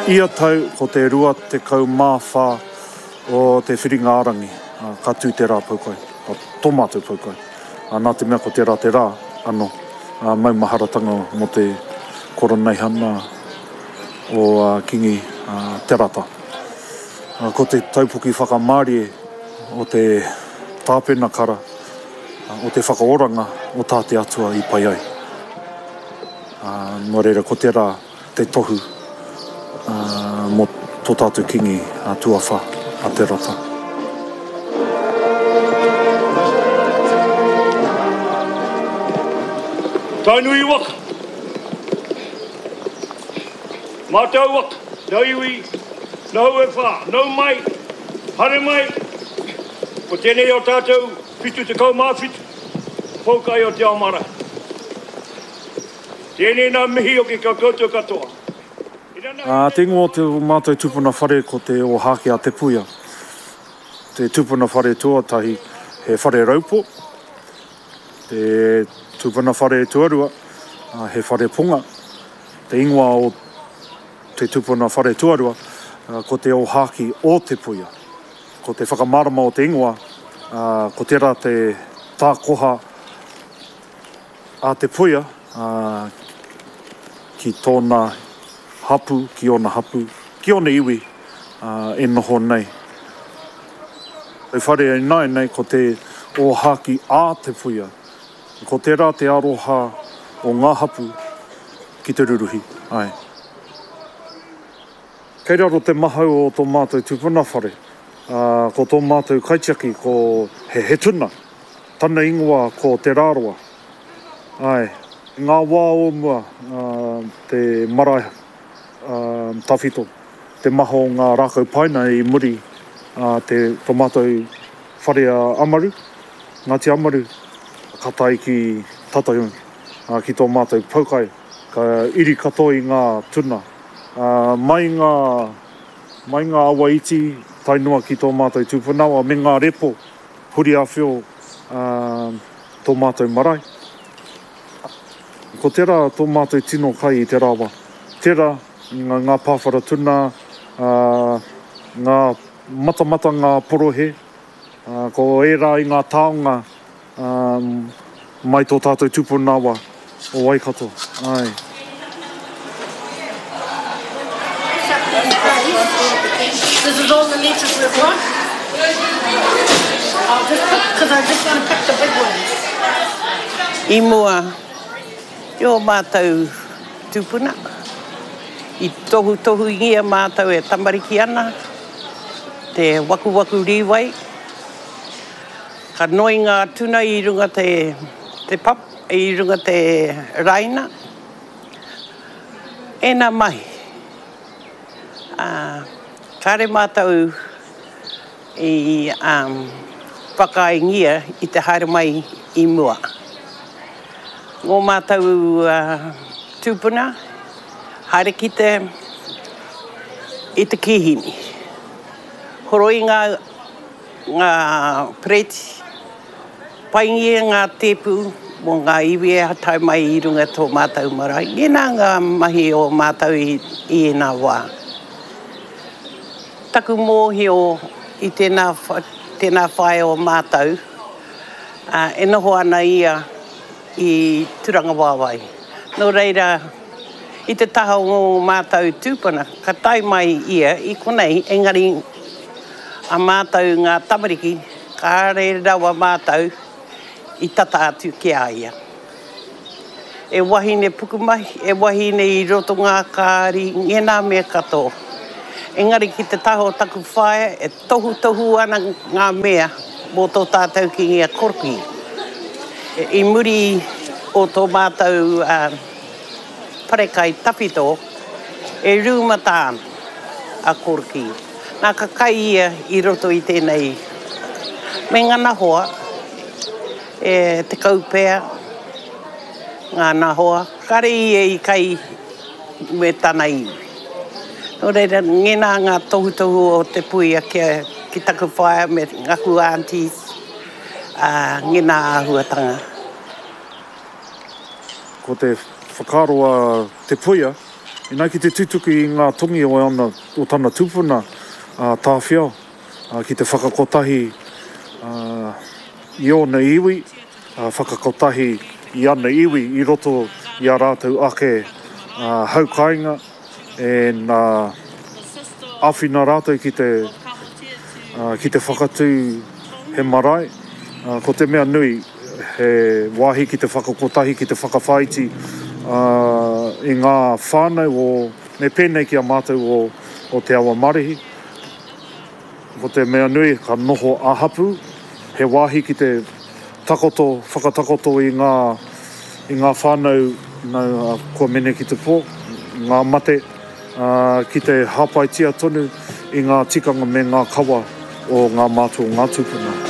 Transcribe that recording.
Ia tau ko te 24 o te Whiringa-a-rangi ka tū te rā poukai, tō mātou poukai. Nā te mea ko tērā te rā anō maumaharatanga mō te koroneihana o Kingi Te Rata. Ko te taupoki whakamārie o te tāpenakara o te whakaoranga o tā te Atua i pai ai. Nō reira ko tērā te tohu mō tō tātou Kīngi tuawhā, a Te Rata. Tainui waka. Mātou waka, nau iwi, nau e wha, nau mai, haere mai, ko tēnei o tātou 77 poukai o te ao marae. Tēnei nā mihi hoki ki a koutou katoa. Ā, te ingoa o tō mātou tupuna whare ko Te Ōhākī a Te Puia. Te tupuna whare tuatahi he whare raupo, te tupuna whare tuarua he whare ponga. Te ingoa o te tupuna whare tuarua ko Te Ōhākī o Te Puia. Ko te whakamārama o te ingoa, ko tērā te tākoha A Te Puia, ā, ki tōna hapū, ki ōna hapū, ki ōna iwi, ā, e noho nei. Te whare ināianei ko te ōhākī a Te Puia. Ko tērā te aroha o ngā hapū ki te ruruhi, āe. Kei raro te mahau o tō mātou tupuna whare, ā, ko tō mātou kaitiaki ko he, he tuna. Tana ingoa ko Te Rāroa. Āe, i ngā wā o mua, te marae tawhito, te maha o ngā rākau paina i muri te tō mātou whare a Amaru, Ngāti Amaru, ka tae ki tata ki tō mātou poukai, ka iri katoa i ngā tuna. Mai ngā, mai ngā awa iti tae noa ki tō mātou tupuna me ngā repo Huriawhio tō mātou marae. Ko tērā tō mātou tino kai i te rawa. Tērā ngā pāwhara tuna, ngā matamata, ngā porohe, ko ērā i ngā taonga mai tō tātou tupuna wa o Waikato. Āe. This is all the letters we've got. I'll just pick, because I just want to pick the big ones. I mua i ō mātou tūpuna, i tohutohungia mātou e tamariki ana, te wakuwaku rīwai, Ka noi ngā tuna i runga te te pap, i runga te raina. Ēnā mahi. Ā, kāre mātou i whakaaengia i te haere mai i mua. Ngō mātou tūpuna, haere ki te, i te kīhini. Horoi ngā. Ngā pereti, paingia ngā tēpu mō ngā iwi e tae mai i runga tō mātou marae. Ēnā ngā mahi o mātou i ēnā wā. Taku mōhio i tēnā, tēnā whaea o mātou, e noho ana ia i Turangawaewae. Nō reira, i te taha o ngō mātou tūpuna, ka tae mai ia i konei, engari a mātou ngā tamariki, kāre rawa mātou i tata atu ki a ia. E wahine pukumahi, e wahine i roto ngā kāri, ngēnā mea katoa. Engari ki te taha o taku whaea, e tohutohu ana ngā mea mō tō tātou Kīngi a Korokī. I muri o tō mātou wharekai tawhito, e rūmata ana a Korokī. Nā, ka kai ia i roto i tēnei me ngana hoa, e 10 pea ngāna hoa, kare ia i kai me tana iwi. Nō reira, ngēnā ngā tohutohu o te puia kia, ki taku whaea me ngaku aunties, ā, ngēnā āhuatanga. Ko te whakaaro a Te Puia. Inā ki te tutuki i ngā tongi o ana, o tana tupuna, a Tāwhiao, ki te whakakotahi i ōna iwi, whakakotahi i ana iwi i roto i a rātou ake hau kāinga, and āwhina rātou ki te, ki te whakatū he marae. Ko te mea nui, he wāhi ki te whakakotahi, ki te whakawhāiti i ngā whānau o, me pēnei ki a mātou o, o Te Awa Marihi. Ko te mea nui, ka noho ā-hapū, he wāhi ki te takoto, whakatakoto i ngā, i ngā whānau nā, kua mene ki te pō, ngā mate, ā, ki te hāpaitia tonu i ngā tikanga me ngā kawa o ngā mātua o ngā tūpuna.